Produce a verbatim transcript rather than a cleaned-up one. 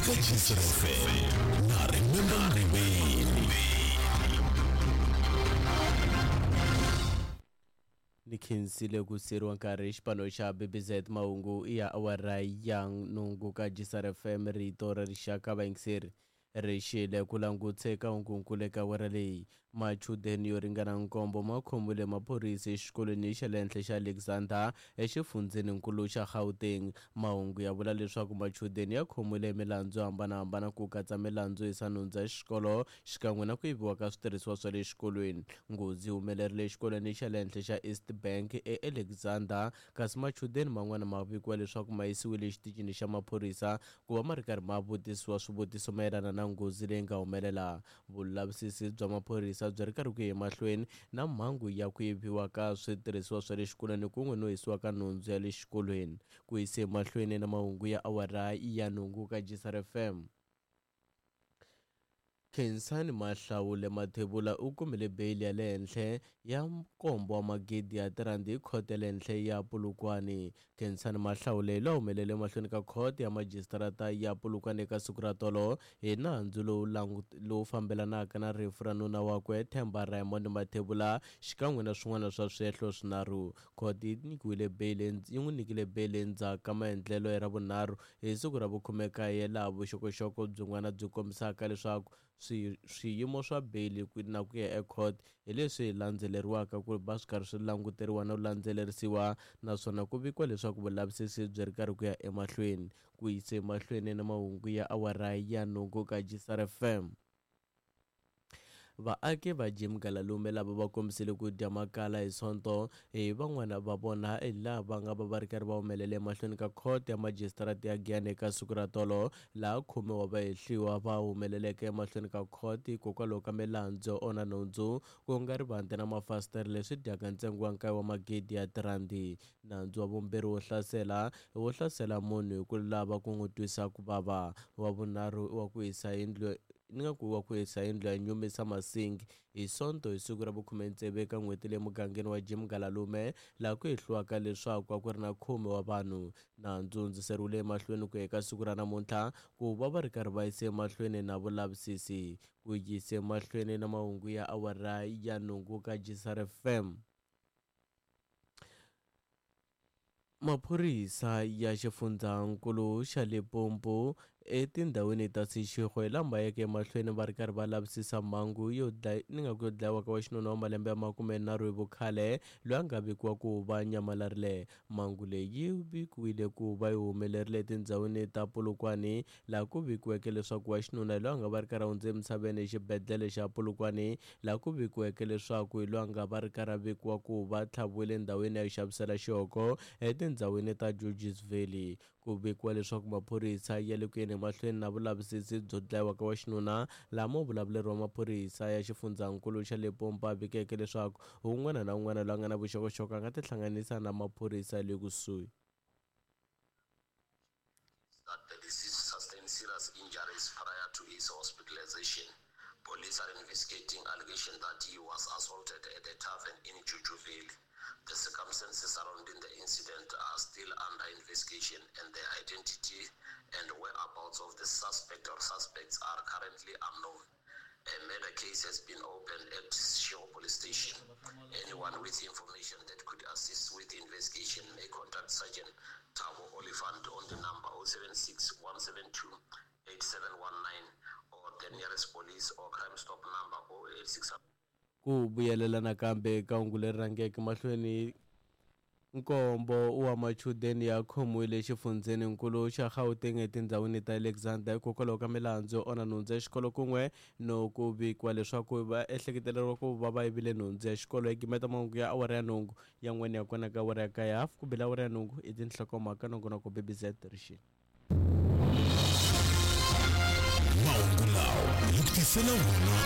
Eka Jisr F M na Remember Ngwini. Ni khensile ku siriwa nkarhi xipano xa B B Z mahungu ya awara ya nhungu ka Jisr F M rito ra rixaka vayingiseri ri xile ku languteka hungunkulu eka awara leyi. Machudeni yo ringana nkombo ma khomiwile maphorisa exikolweni xa le henhla xa Alexander exifundzheninkulu xa Gauteng. Mahungu ya vula leswaku machudeni ya khomiwile milandzu yo hambanahambana ku katsa milandzu yisa nhundzu ya xikolo xikan'we na ku yiviwa ka switirhisiwa swa le xikolweni. Nghozi yi humelerile exikolweni xa le henhla xa East Bank eAlexander, kasi machudeni man'wana ma vikiwa leswaku ma yisiwile exitichini xa maphorisa ku va ma ri karhi ma vutisiwa swivutiso mayelana na nghozi leyi nga humelela. Vulavisisi bya maphorisa byi ri karhi ku ya emahlweni na mhangu ya ku yiviwa ka switirhisiwa swa le xikolweni kun'we no hisiwa ka nhundzu ya le xikolweni. Ku yisa emahlweni na mahungu ya awara ya nhungu ka Jisr F M. Khensani Mahlawule Mathebula u kumile beyili ya le henhla ya nkombo wa magidi ya tirhandi hi khoto ya le henhla ya Polokwane. Khensani Mahlawule loyi a humelele mahlweni ka khoto ya majisitarata ya Polokwane eka siku ra tolo hi nandzu lowu lowu fambelanaka na rifu ra nuna wakwe Themba Raymond Mathebula xikan'we na swin'wana swa swihehlo swinharhu. Khoto yi nyikiwile beyili yi n'wi nyikile beyili endzhaku ka maendlelo ya Ravunharhu hi siku ra vukhume-kaye laha vuxokoxoko byin'wana byi kombisaka leswaku swiyimo swa beyili na ku ya ecourt hi leswi landzeleriwaka ku va swi karhi swi languteriwa na ku landzelerisiwa, naswona ku vikiwa leswaku vulavisisi byi ri karhi ku ya emahlweni. Ku yisa emahlweni na mahungu ya awara ya nhungu ka Jisr F M. Vaaki va Jim Galalume lava va kombisile ku dya makala hi Sonto hi van'wana va vona laha va nga va va ri karhi va humelele emahlweni ka khoto ya majisitarata ya Giyani eka siku ra tolo, laha khume wa vahehliwa va humeleleke emahlweni ka khoto hikokwalaho ka milandzu yo onha nhundzu ku nga rivanti na mafasitere leswi dyaka ntsengo wa nkaye wa magidi ya tirhandi. Nandzu wa vumbirhi wo hlasela wo hlasela munhu hi ku lava ku n'wi twisa ku vava, wa vunharhu wa ku hisa yindlu ni nga ku wa ku hisa yindlu ya Nyumisa Masingi hi Sonto hi siku ra vukhume-tsevu eka n'hweti leyi mugangeni wa Jim Galalume, laha ku hehliwaka leswaku a ku ri na khume wa vanhu. Nandzu wu hundziseriwile emahlweni ku ya eka siku ra namuntlha ku va va ri karhi va yisa emahlweni na vulavisisi. Ku yisa emahlweni na mahungu ya awara ya nhungu ka Jisr F M. Maphorisa ya xifundzankulu xa Limpopo etindhawini ta Seshego lama yeke emahlweni va ri karhi va lavisisa mhangu yo dlaya ni nga ku yo dlayiwa ka wa xinuna wa malembe ya makumenharhu hi vukhale loyi a nga vikiwa ku va nyamalarile. Mhangu leyi yi vikiwile ku va yi humelerile etindhawini ta Polokwane, laha ku vikiweke leswaku wa xinuna loyi a nga va ri karhi a hundze emisaveni exibedhlele xa Polokwane, laha ku vikiweke leswaku hi loyi a nga va ri karhi a vikiwa ku va tlhaviwile endhawini ya ku xavisela xihoko etindhawini ta Georges Valley. Ku vikiwa leswaku maphorisa ya le ku yeni emahlweni na vulavisisi byo dlayiwa ka wa xinuna, laha muvulavuleri wa maphorisa ya xifundzankulu xa Limpopo a vikeke leswaku un'wana na un'wana loyi a nga na vuxokoxoko a nga tihlanganisa na maphorisa ya le kusuhi. That the deceased sustained serious injuries prior to his hospitalization. Police are investigating allegation that he was assaulted at a tavern in Jujuville. The circumstances surrounding the incident are still under investigation, and the identity and whereabouts of the suspect or suspects are currently unknown. A murder case has been opened at Seshego Police Station. Anyone with information that could assist with the investigation may contact Sergeant Thabo Oliphant on the number oh seven six, one seven two, eight seven one nine or the nearest police or crime stop number oh eight six. Ku vuyelela nakambe eka hungu leri rhangeke mahlweni, nkombo wa machudeni ya khomiwile exifundzheninkulu xa Gauteng etindhawini ta Alexander hikokwalaho ka milandzu yo onha nhundzu ya xikolo kun'we no ku vikiwa leswaku va ehleketeleriwa ku va va yivile nhundzu ya xikolo. Hi gimeta mahungu ya awara ya nhungu yan'wana ya kona ka awara ya kaye hafu ku bela awara ya nhungu i tinhlokomhaka nongonoko B B Z rixini. Mahungu lawa hi ku tisela wona.